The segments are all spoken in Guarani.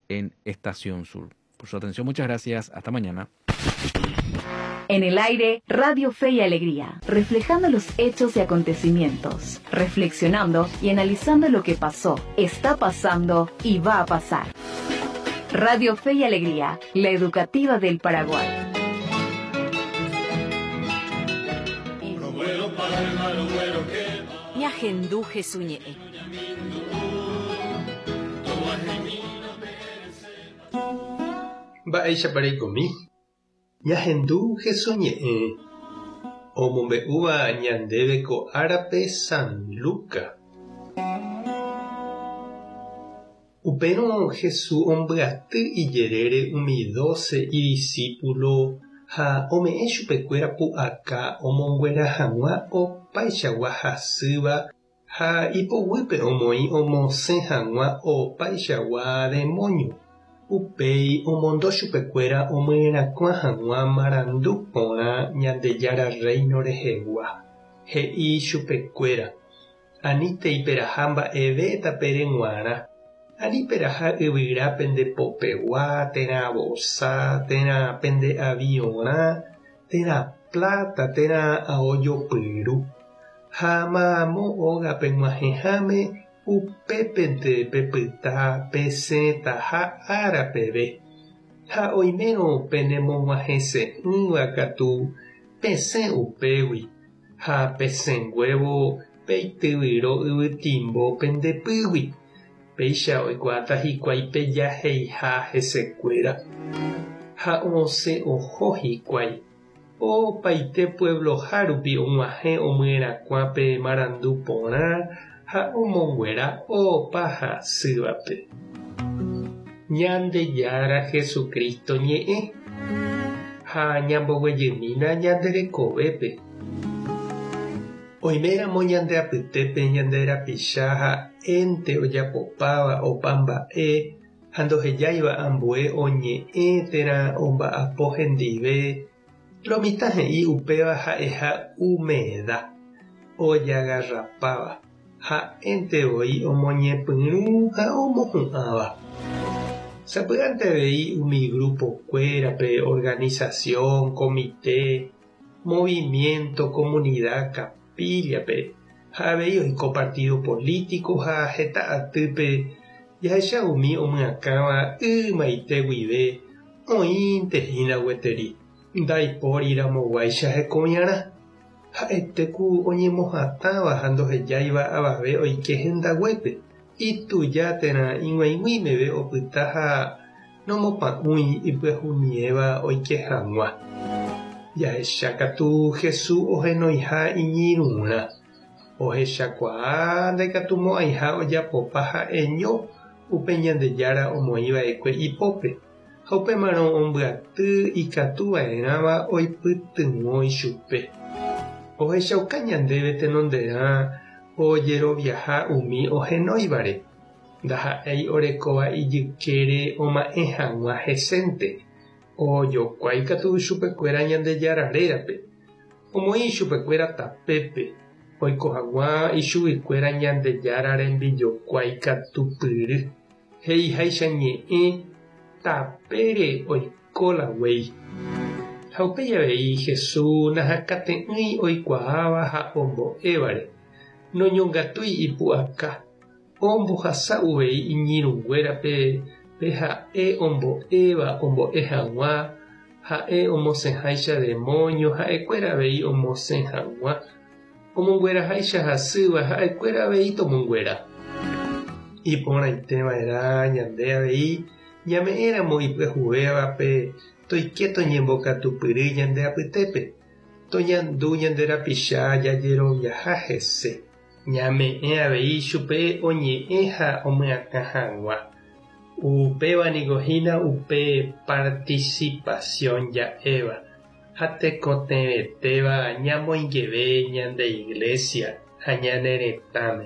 en Estación Sur. Por su atención, muchas gracias. Hasta mañana. En el aire, Radio Fe y Alegría, reflejando los hechos y acontecimientos, reflexionando y analizando lo que pasó, está pasando y va a pasar. Radio Fe y Alegría, la educativa del Paraguay. Ñahendu Jesús ñe'ẽ. Mba'éichapa reikomi? Ñahendu Jesús ñe'ẽ omombe'úva ñandéve ko árape San Luca. Upérõ Jesús ombyaty ijerére umi dóse idisípulo ha ome'ẽ chupekuéra pu'aka omonguera hag̃ua opaichagua hasýva Ha ipoguýpe omoĩ omosẽ hag̃ua opaichagua demóño. Upéi omondo chupekuéra omyerakuã hag̃ua marandu porã Ñandejára Rréino rehegua. He'i chupekuéra, Anítei peraha mba'eve tapére g̃uarã, ani peraha yvyra pende popegua térã vosa térã pende aviorã térã pláta térã ao jopyru. Ha mamo ógape g̃uahẽháme upépente pepyta pesẽtaha ára peve. Ha oimérõ penemog̃uahẽse'ỹva katu pesẽ upégui, ha pesẽnguévo peityvyro yvytimbo pende pýgui, péicha oikuaáta hikuái pejaheiha hesekuéra. Ha osẽ oho hikuái. Opaite puebloha rupi og̃uahẽ omyerakuã pe marandu porã ha omonguera opa hasývape. Ñandejára Jesucristo ñe'ẽ ha ñamboguejymína ñande rekovépe. Oiméramo ñande apytépe ñande rapicha ha'énte ojapopáva opa mba'e ha ndohejáiva ambue oñe'ẽ térã omba'apo hendive, lo mitã he'i upéva ha'eha umeda, ojagarrapáva, ha'énte voi omoñepyrũ ha omohu'ãva. Sapy'ánte avei umi grupo-kuérape, organización, comité, movimiento, comunidad, capilla-pe, ha avei oiko partido político ha heta atýpe jahecha umi omyakãva ymaite guive oĩnte hína gueteri, ndaipóri ramoguáicha hekoviarã. Ha'ete ku oñemohatãva ha ndohejáiva avave oike hendaguépe, ituja térã ig̃uaig̃ui meve opyta ha nomopa'ũi ipyahumiéva oike hag̃ua. Jahecha katu Jesús ohenoiha iñirũrã. Ohechakuaa ndaikatumo'ãiha ojapopa ha'eño upe Ñandejára omoĩva'ekue ipópe, ha upémarõ ombyaty ikatuva'erãva oipytyvõ ichupe. Ohechauka ñandéve tenonderã ojeroviaha umi ohenóivare, ndaha'éi orekóva ijykére oma'ẽ hag̃ua hesénte, ojokuái katu chupekuéra Ñandejára rérape, omoĩ ichupekuéra tapépe, oiko hag̃ua ichuguikuéra Ñandejára rembijokuái katupyry, he'iháicha ñe'ẽ tapére oiko la guéi. Ha upéi avei Jesús nahakate'ỹi oikuaáva ha ombo'évare, noñongatúi ipu'aka, Ombohasa uvei iñirũnguérape pe ha'e ombo'éva ombo'e hag̃ua, ha'e omosẽháicha demóño ha'ekuéra avei omosẽ hag̃ua, omongueraháicha hasýva ha'ekuéra avei tomonguera. Iporãite va'erã ñande avei ñame'ẽramo ipyahuvévape toike toñembokatupyry ñande apytépe, toñandu ñande rapicha jajeroviaha hese. Ñame'ẽ avei chupe oñe'ẽ ha omyakã hag̃ua. Upéva niko hína upe participación ja'éva ha tekotevẽtéva ñamoingeve ñande Iglesia ha ñane retãme.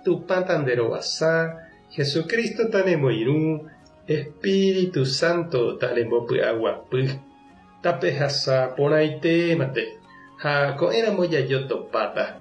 Tupã tanderovasa, Jesucristo tanemoirũ, Espíritu Santo tanembopy'aguapy. Tapehasa porãitémante ha ko'ẽramo jajotopáta.